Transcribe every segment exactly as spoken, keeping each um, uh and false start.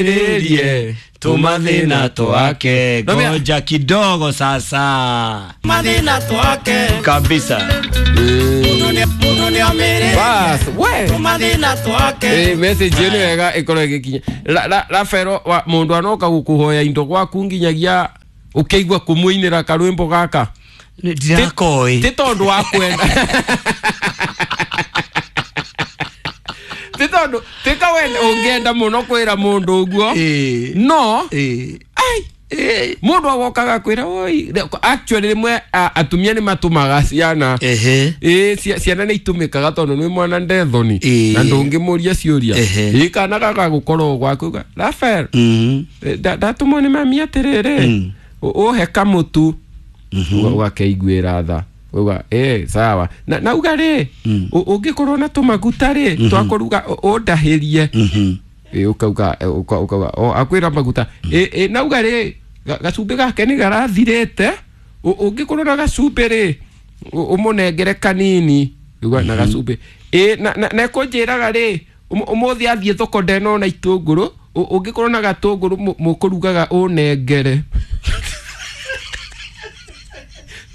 Rĩrie Tumathina twake ngoja kidogo sasa Mathina twake kabisa. Mundu ni omĩrĩrie Bas, we Tumathina twake Eh, message ĩno wega ĩkorwo ĩgĩkinya. La- la- Rafael wa mũndũ anoka gũkũhoya indo gwaku nginyagia ũkĩigua kũmũinĩra karwĩmbo gaka Ndirakoĩ ti tondũ wa kwenda ti tondũ ti kawenda ũngĩenda mũno kwĩra mũndũ ũguo Eh. no Eh. ai mũndũ agokaga kwĩra oi actually rĩmwe a- atumia nĩ matũmaga ciana Ehe. ĩ cia- ciana nĩ itũmĩkaga tondũ nĩ mwana ndethoni Ĩĩ. na ndũngĩmũria ciũria Ehe. ĩ kana gagagũkorwo gwaku ga- Rafael Mhm. eh, nda- ndatũmwo nĩ mami atĩrĩrĩ Mm. ũ- ũhe kamũtu Uga- ũgakeiguĩra tha uga ĩ sawa na na uga rĩ ũ- ũngĩkorwo na tũmaguta rĩ twakũruga ũ- ũndahĩrie Mhm. ĩ ũkauga ĩ, ũka- ũkauga o akwĩra maguta ĩ ĩ nauga rĩ ga- gacumbĩ gake nĩ garathirĩte Ũ- ũngĩkorwo na gacumbĩ rĩ ũ- ũmũnengere kanini uga na gacumbĩ ĩ na na- na ekũnjĩraga rĩ ũmũ- ũmũthĩ athiĩ thoko ndenona itũngũrũ Ũ- ũngĩkorwo na gatũngũrũ mũ- mũkũrugaga ũnengere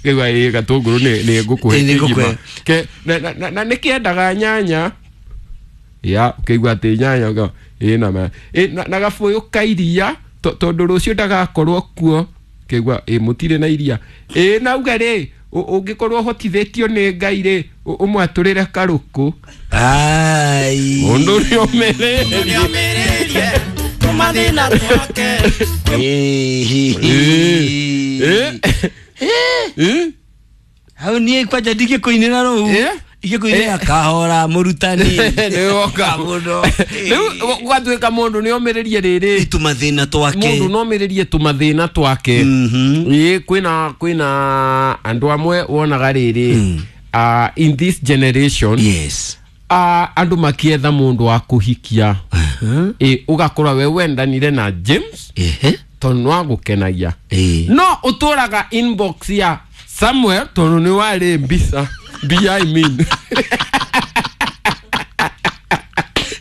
Kĩgua ĩ gatũngũrũ nĩ nĩ ngũkũhe Ĩ, nĩ ngũkũhe. kĩgima. Ke- na- na- na- na nĩkĩendaga nyanya ya ũkĩigua atĩ nyanya ũka- ĩ na ma ĩ na, na gabũyũ ka iria to- tondũ rũciũ ndagakorwo kuo kĩigua ĩ mũtirĩ na iria ĩ nauga rĩ ũ- ũngĩkorwo ũhotithĩtio nĩ Ngai rĩ ũ- ũmwatũrĩre karũkũ Ai. mũndũ nĩ ũmĩrĩrie Nĩ omĩrĩrie Tumathina twake Eh. Ĩ? Ĩ? Hau niĩ kwanja ndingĩkũinĩra rũu Eh? ingĩkũinĩra kahora mũrutani Nĩ woka mũno rĩu gwatuĩka mũndũ nĩ omĩrĩrie rĩrĩ tũmathĩna twake mũndũ no omĩrĩrie tũmathĩna twake Mhm. ĩ kwĩna kwĩna andũ amwe wonaga rĩrĩ ah, in this generation yes ah, andũ makietha mũndũ wa kũhikia ĩ ũgakora we wendanire na James ehe tondũ nĩwagũkenagia Eh. no ũtũraga inbox ya Samuel tondũ nĩ warĩ mbica mbia I mean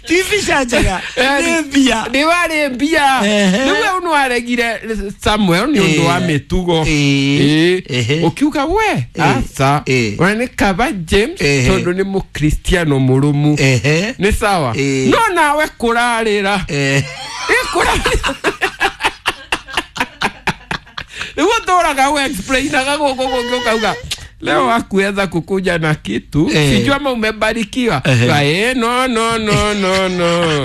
ti mbica njega nĩ mbia nĩ warĩ mbia Ehe. rĩu we nĩ waregire Samuel nĩ ũndũ wa Eh. mĩtugo Eh. Ĩ. Ehe. ũkiuga we aca Eh. ona nĩ kaba James Ehe. tondũ nĩ mũkristiano mũrũmu ehe nĩ sawa Eh. no nawe kũrarĩra Eh. Ĩ, kũrarĩra rĩu ũtũraga we explainaga gũkũ kũngĩ ũkauga leo hakuweza kukuja na kitu Eh. sijui ama umebarikiwa Ehe. Ka, eh, no no no no no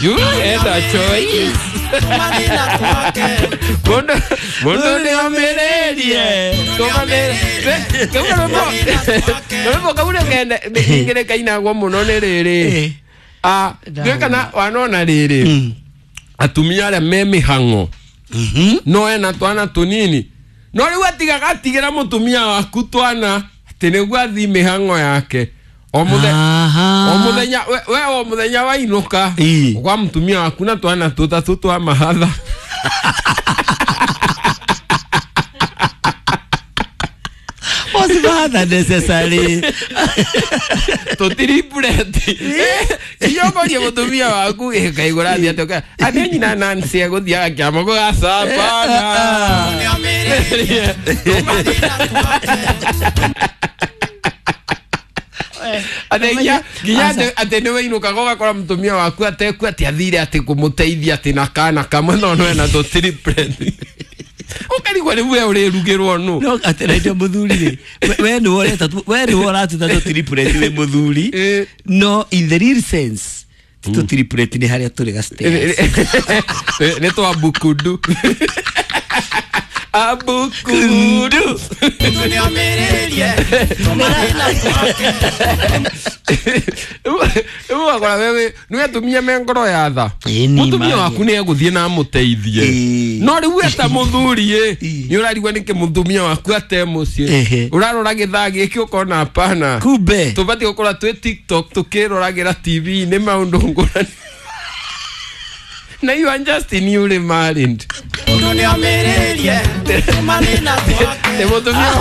you had a choice Tumathina twake mundu mundu nĩ omĩrĩrie kau karwĩmbo karwĩmbo kau nĩ kainagwo mũno nĩ rĩrĩ Eh. Ah, ndiũĩ kana wanona rĩrĩ atumia arĩa me mĩhang'o Mhm. no ena twana tũnini no rĩu atigaga atigĩra mũtumia waku twana atĩ nĩguo athi mĩhang'o yake o mũthe Aha. o mũthenya we we o mũthenya wainũka Ĩ. kwa mũtumia waku na twana tũtatũ twa mahatha Was mahatha necessary tũtiribũreti iyokorie mũtumia waku ĩkaigũra athiĩ atĩ ũka- atĩ nyina Nancy egũthiaga kĩama gũgacabana Nĩ omĩrĩrie Tumathina twake atĩ nginya nginya atĩ- atĩ nĩ wainũkaga ũgakora mũtumia waku ateku atĩ athire atĩ kũmũteithia atĩ na kana kamwe no no ena tũtiribũreti ũkarigwo rĩu we ũrĩrugĩrwo nũ no atĩ mũthuri rĩ we- we nĩwe ũreta tu- we nĩwe ũratuta tũtiripureti wĩ mũthuri Eh. no in the real sense ti tũtiripureti nĩ harĩa tũrĩ ga stairs. nĩ twa bukundu abukundu Mundu nĩ omĩrĩrie Tumathina twake rĩu ũgakora wewe nĩ atumia me ngoro ya tha Ĩ, ni mũtumia mage. waku nĩ egũthiĩ na amũteithie Ĩ. no rĩu we ta mũthuri ĩ Ĩ. nĩ ũrarigwo nĩkĩ mũtumia waku ate mũciĩ Ehe. ũrarora gĩthaa gĩkĩ ũkona hapana kumbe tũbatiĩ gũkorwo twĩ tiktok tũkĩroragĩra tv nĩ maũndũ ngũrani na you are just newly married Mundu nĩ omĩrĩrie Tumathina twake Te mũtumia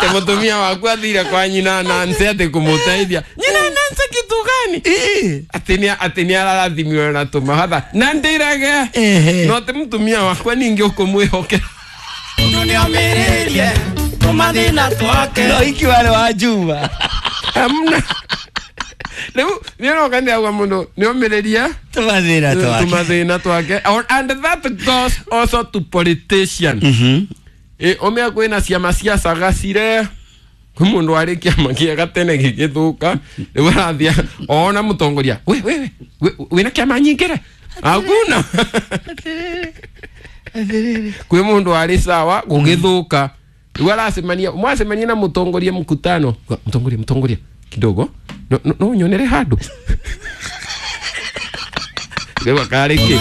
te mũtumia waku athire kwa nyina Nancy atĩ kũmũteithia nyina Nancy kitu kitu gani? Eh. Atĩ nĩ atĩ nĩ ararathimiwe na tũmahatha na ndĩrage Ehe. no atĩ mũtumia wakwa ningĩ ũkũmwĩhokera. Mundu nĩomĩrĩrie tũmathĩna twake. No iki wale wa Juma. Hamna. Rĩu nĩũroka nĩauga mũndũ nĩomĩrĩrie Tumathĩna twake. tũmathĩna twake. Or- and that goes also to politician. Mhm. Ĩ ũmĩa kwĩna ciama cia cagacire, kwĩ mũndũ warĩ kĩama kĩega tene gĩgĩthũka, rĩu arathiĩ ona mũtongoria, we we we we- wĩna kĩama nyingĩre hakuna. Kwĩ mũndũ warĩ sawa gũgĩthũka, rĩu aracemania mwacemania na mũtongoria mkutano, mũtongoria mũtongoria kidogo no, no, no nyonere handũ rĩu akarĩ kĩ.